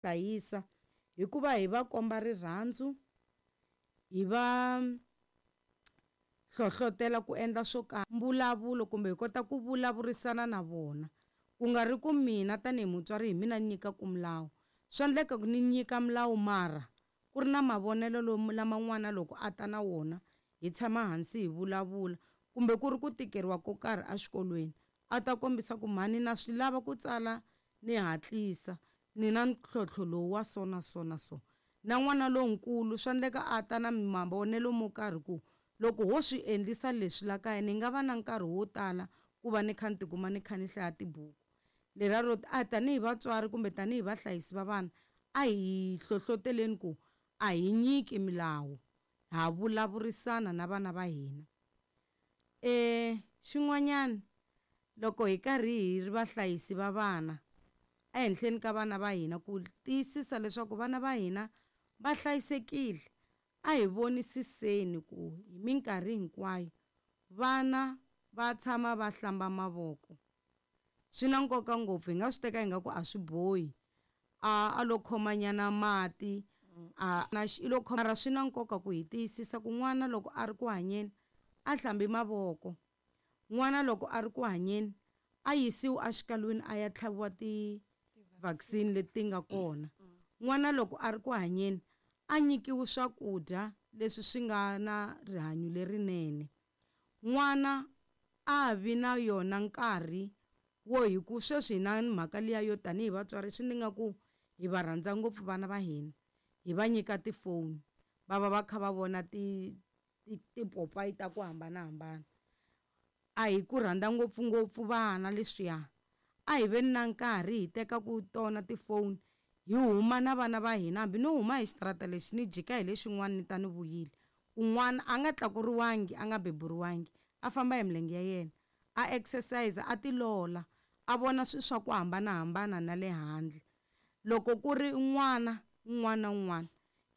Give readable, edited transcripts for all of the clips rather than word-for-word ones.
Hlayisa hikuva hi va komba rirhandzu, hi va hlohlotela ku endla swo karhi, mbulavulo kumbe hi kota ku vulavurisana na vona. Ku nga ri ku mina tanihi mutswari hi mina ni nyikaka milawu. Swa endleka ku ni nyika milawu mara ku ri na mavonelo lama n'wana loko a ta na wona hi tshama hansi hi vulavula kumbe ku ri ku tikeriwa ko karhi exikolweni a ta kombisa ku mhani na swi lava ku tsala ni hatlisa ni na ntlhontlho lowu wa so na so na so. Na n'wana lonkulu swa endleka a ta na mavonelo mo karhi ku loko ho swi endlisa leswi la kaya ni nga va na nkarhi wo tala ku va ni kha ni tikuma ni kha ni hlaya tibuku. Leriya ro a tanihi vatswari kumbe tanihi vahlayisi va vana a hi hlohloteleni ku a hi nyiki milawu ha vulavurisana na vana va hina. Xin'wanyana loko hi karhi hi ri vahlayisi va vana ehenhleni ka vana va hina ku tiyisisa leswaku vana va hina va hlayisekile a hi vonisiseni ku hi minkarhi hinkwayo vana va tshama va hlamba mavoko. Swi na nkoka ngopfu hi nga swi teka ingaku a swi bohi a lo khomanyana mati a na i lo khoma mara swi na nkoka ku hi tiyisisa ku n'wana loko a ri ku hanyeni a hlambi mavoko. N'wana loko a ri ku hanyeni a yisiwi exikalwini a ya tlhaviwa ti-vaccine leti ti nga kona. N'wana loko a ri ku hanyeni a nyikiwi swakudya leswi swi nga na rihanyo lerinene. N'wana a vi na yona nkarhi wo hi ku sweswi hi na mhaka liya yo tanihi vatswari swi ni nga ku hi va rhandza ngopfu vana va hina hi va nyika tifoni va va va kha va vona tipopayi ta ku hambanahambana. A hi ku rhandza ngopfungopfu vana leswiya a hi veni na nkarhi hi teka ku tona tifoni hi huma na vana va hina hambi no huma hi xitarata lexi ni jika hi lexin'wana ni ta ni vuyile. Kun'wana a nga tlakuriwangi a nga beburiwangi a famba hi milenge ya yena a exercise a tilola a vona swilo swa ku hambanahambana na le handle. Loko ku ri n'wana un'wana na un'wana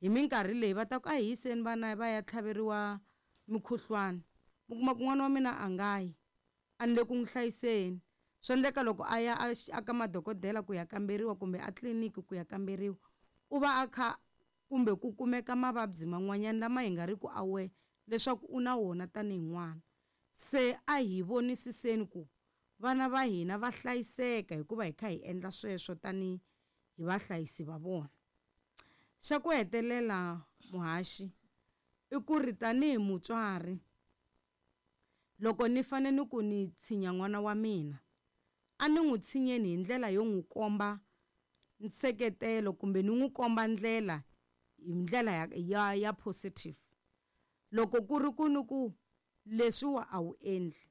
hi minkarhi leyi va ta ku a hi yiseni vana va ya tlhaveriwa mukhuhlwani mi kuma ku n'wana wa mina a nga yi a ni le ku n'wi hlayiseni. Swi endleka loko a ya a ka madokodela ku ya kamberiwa kumbe a tliliniki ku ya kamberiwa u va a kha kumbe ku kumeka mavabyi man'wanyana lama hi nga ri ku aware leswaku u na wona tanihi n'wana. Se a hi vonisiseni ku vana va hina va hlayiseka hikuva hi kha hi endla sweswo tanihi hi vahlayisi va vona. Xa ku hetelela muhaxi i ku ri tanihi mutswari loko ni fane ni ku ni tshinya n'wana wa mina a ni n'wi tshinyeni hi ndlela yo n'wi komba nseketelo kumbe ni n'wi komba ndlela hi ndlela ya positive. Loko ku ri ku ni ku leswiwa a wu endli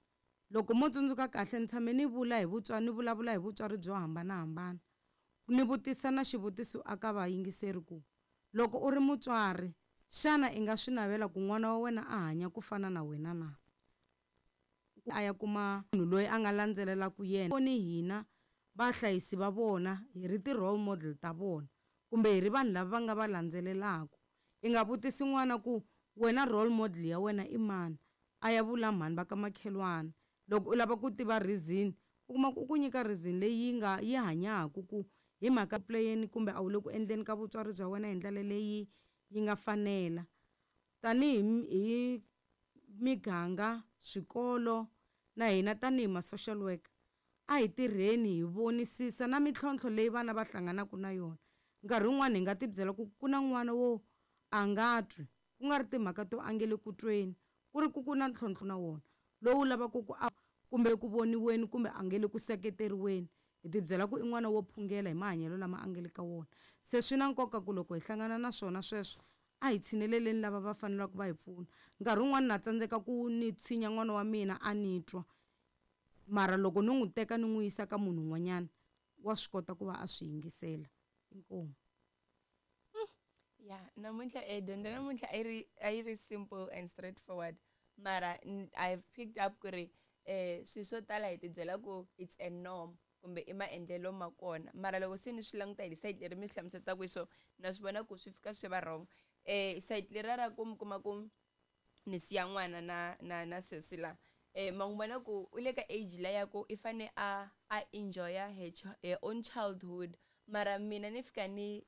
loko mo tsundzuka kahle ni tshame ni vula hi vutswari ni vulavula hi vutswari byo hambanahambana ni vutisa na xivutiso aka vayingiseri ku loko u ri mutswari xana i nga swi navela ku n'wana wa wena a hanya ku fana na wena na? A ya kuma munhu loyi a nga landzelelaka yena ni hina vahlayisi va vona hi ri ti-role model ta vona kumbe hi ri vanhu lava va nga va landzelelaka. I nga vutisi n'wana ku wena role model ya wena i mani a ya vula mhani va ka makhelwani. Loko u lava ku tiva reason u kuma ku u ku nyika reason leyi yi nga yi hanyaka ku hi mhaka playeni kumbe a wu le ku endleni ka vutswari bya wena hi ndlela leyi yi nga fanela. Tanihi hi miganga swikolo na hina tanihi ma-social worker a hi tirheni hi vonisisa na mintlhontlho leyi vana va hlanganaka na yona. Nkarhi wun'wani hi nga ti byela ku ku na n'wana wo a nga twi ku nga ri timhaka to a nge le ku tweni ku ri ku ku na ntlhontlho na wona lowu lavaka ku a kumbe ku voniweni kumbe a nge le ku seketeriweni. Hi ti byela ku i n'wana wo phungela hi mahanyelo lama a nge le ka wona. Se swi na nkoka ku loko hi hlangana na swona sweswo a hi tshineleleni lava va faneleke va hi pfuna. Nkarhi wun'wani na tsandzeka ku ni tshinya n'wana wa mina a ni twa mara loko ni n'wi teka ni n'wi yisa ka munhu un'wanyana wa swi kota ku va a swi yingisela. Inkomu. Ya namuntlha dyondzo namuntlha a yi ri simple and straightforward mara I've picked up ku ri swilo swo tala hi tibyela ku it's a norm kumbe i maendlelo ma kona mara loko se ni swi languta hi side leri mi swi hlamusetaka hi swona na swi vona ku swi fika swi va wrong. Side leriya ra ku mi kuma ku ni siya n'wana na sesi la ma n'wi vona ku u le ka age liya ku i fane a enjoy-a her own childhood. Mara mina ni fika ni.